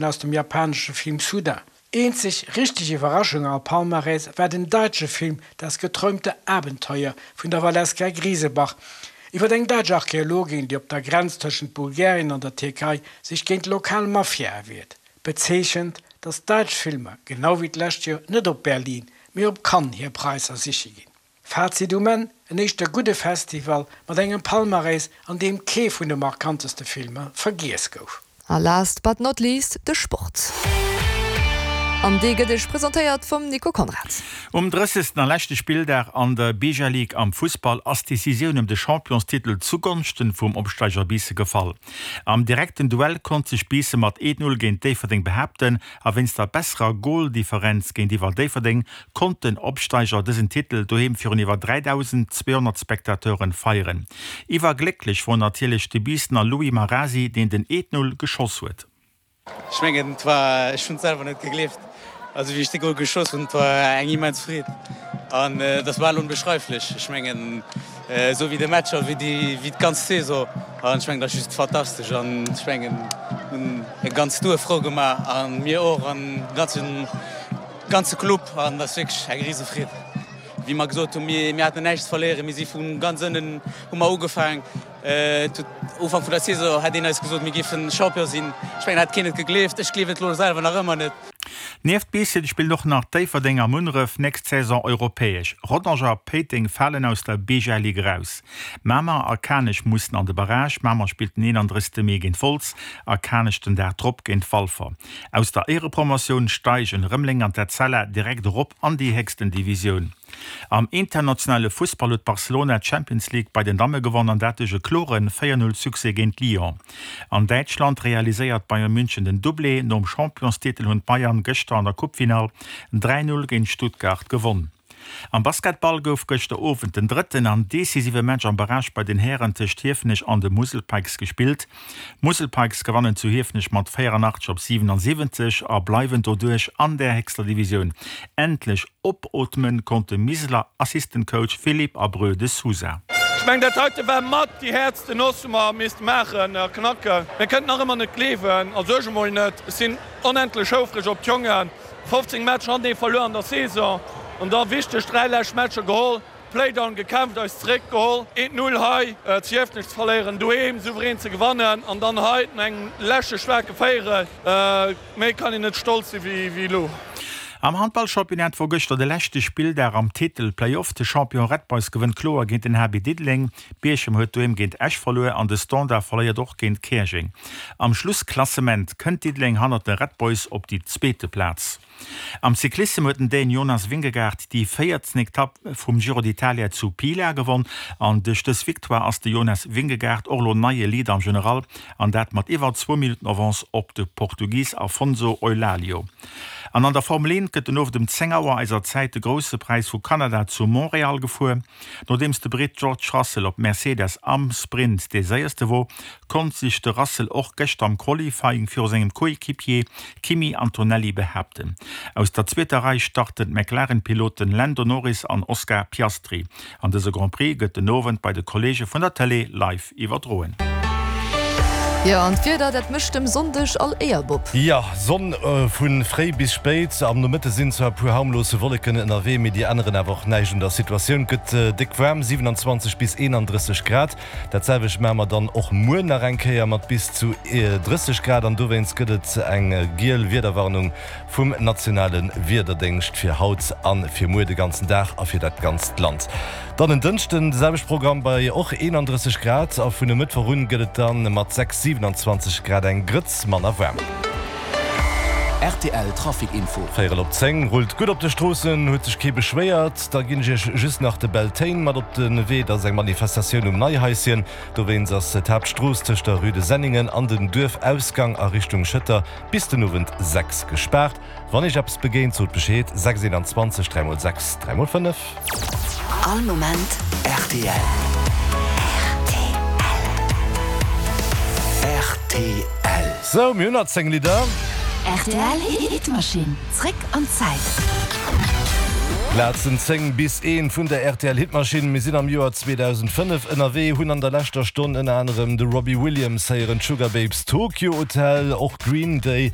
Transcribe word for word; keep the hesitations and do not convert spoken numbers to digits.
aus dem japanesche Film Soudain. Eenzeg richteg Iwwerraschung am Palmarès war den däitsche Film Das geträumte Abenteuer vun der Valeska Grisebach iwwer eng däitsch Archeologin, déi op der Grenz tëschent Bulgarien an der Tierkei sech géint d'lokal Mafia wiert. Bezeechent, datt däitsch Filmer, genau wéi d'lescht Joer, net op Berlin, mee op Cannes hir Präisser siche ginn. Fazit um Enn, En éischter gudde Festival mat engem Palmarès, an deem kee vun de markanteste Filmer vergiess gouf. A last but not least, de Sport. An dee gëtt iech presentéiert vum Nico Conrad. Um drëssegsten a leschte Spilldag an der Beja League am Fussball ass d'Decisioun ëm de Championstitel zugonschten vum Opsteiger Biissen gefall. Am direkten Duell konnt sech Biissen mat eent Null géint Déifferdeng behaapten a wéinst der besserer Goldifferenz géintiwwer Déifferdeng konnt den Opsteiger dësen Titel doheem virun iwwer dräidausend zweehonnert Spectateuren feieren. Iwwerglécklech wor natierlech de Biissener Louis Marasi, deen den eent Null geschoss huet. Ech mengen, et war, ech hunn et selwer net gegleeft, also wéi ech de Gol geschoss hunn, et war eng immens Freed an dat war onbeschreiflech. Ech mengen, esou wéi de Match a wéi déi, wéi d'ganz Saison an ech mengen, dat ass just fantastesch an ech mengen, hunn e ganzt Duerf frou gemaach a mir och an ganzen, ganze Club an dat ass wierklech eng rise Freed. Wéi mer gesot hunn, mir, mir haten näischt ze verléieren, mir si vu ganz ënnen hu mer ugefaangen. Ufank vun der Saison hätt een eis gesot, mir géifen Champion sinn. Ech mengen, hätt keen et gegleeft. Ech gleewen et elo selwer nach ëmmer net. Nieft Biissen spillen och nach Déifferdeng a Munneref nächst Saison europäesch. Rodange a Péiteng falen aus der Beja Ligue eraus. Mamer a Kanech mussen an de Barrage. Mamer spillt den eenandrëssegste Mee géint Wolz a Kanech den Dag drop géint Walfer. Aus der Éierepromotioun steigen Rëmeleng an d'Etzella direkt erop an déi héchsten Divisioun. Am internationale Fussball huet Barcelona d'Champions League bei den Damme gewonn an dat duerch e klore véier Null Succès géint Lyon. An Däitschland realiséiert Bayern München den Doublé, nom Championstitel hunn d'Bayern gëschter an der Coupe-Finall dräi Null géint Stuttgart gewonn. Am Basketball gouf gëschter Owend den drëtten an decisive Match am Barrage bei den Hären tëscht Hiefenech an de Musel Pikes gespillt. D'Musel Pikes gewannen zu Hiefenech mat véierunnaachtzeg op siwenansiwwenzeg a bleiwen doduerch an der héchster Divisioun. Endlech opootmen konnt de Miseler Assistant Coach Philippe Abreu de Sousa. Ech mengen, dat heite war mat déi häertste Noss, wou mer misste maachen a knacken. Mir kënnen nach ëmmer net gleewen, also ech emol net. Ech sinn onendlech houfreg op d'Jongen. fofzéng Matcher hantenee verluer an der Saison an da wichteg dräi lescht Matcher geholl, Playdown gekämpft, eis zeréck geholl, eent Null hei zu Hiefenech ze verléieren, doheem souverän ze gewannen an dann hei no engem leschte staarke Véierel. Méi kann een net stolz si wéi elo. Am Handballchampionnat wor gëschter de leschte Spilldag am Titel-Playoff. De Champion Red Boys gewënnt kloer géint den H B Diddeleng, Bierchem huet doheem géint Esch verluer an de Standard verléiert och géint Käerjeng. Am Schlussklassement kënnt Diddeleng hannert de Red Boys op déi zweete Plaz. Am Cyclissem huet den Dän Jonas Vingegaard déi véierten Etapp vum Giro d'Italia zu Pila gewonn an duerch dës Victoire ass de Jonas Vingegaard och elo neie Leader am General an dat mat iwwer zwou Minutten Avance op de Portugis Afonso Eulalio. An an der Formel eent gëtt den Owend um zéng Auer eiser Zäit de Grousse Präis vu Kanada zu Montréal gefuer. Nodeems de Britt George Russell op Mercedes am Sprint dee séierste wor, konnt sech de Russell och gëschter am Qualifying viru sengem Coéquipier Kimi Antonelli behaapten. Aus der zweeter Rei starten d'McLaren-Piloten Lando Norris an Oscar Piastri. An dëse Grand Prix gëtt den Owend bei de Kolleege vun der Tëlee live iwwerdroen. Jo, an d'Wieder, dat mécht dem Sonndeg all Éier, Bob. Jo, Sonn vu fréi bis spéit. Am Nomëtte sinn zwar e puer harmlose Wolleken ënnerwee, mee déi änneren awer och näischt un der Situatioun. Et gëtt déck waarm, siewenanzwanzeg bis eenandrësseg Grad. Dat selwecht maache mer dann och muer nach eng Kéier mat bis zu drësseg Grad an dowéinst gëtt et eng giel Wiederwarnung vum nationale Wiederdéngscht fir haut a fir muer de ganzen Dag a fir dat ganzt Land. Dann en Dënschden de selwechte Programm bei och eenandrësseg Grad a vun e Mëttwoch un gëtt et dann mat sechs, siewenanzwanzeg Grad eng Grëtz manner waarm. Rtl Trafic Info. Véierel op zéng, Rullt gutt op de Stroossen, huet sech kee beschwéiert. Da ginn ech iech just nach de Beltane mat op de Wee. Dat ass eng Manifestatioun um Neihaischen. Dowéinst ass d'Haaptstrooss tëscht der Rue de Senningen an den Duerfausgang a Richtung Schëtter bis den Owend sechs gespaart. Wann iech eppes begéint, sot Bescheed, sechs eenanzwanzeg dräi mol sechs dräi mol fënnef. All Moment rtl. Rtl. Sou, mir hunn nach zéng Lidder. Rtl Hitmaschinn, zréck an d'Zäit. Plazen zéng bis eent vun der R T L Hitmaschinn. Mir sinn am Joer zweedausendfënnef ënnerwee, hunn an der leschter Stonn ënner anerem de Robbie Williams héieren, d'Sugababes, Tokio Hotel, och Green Day.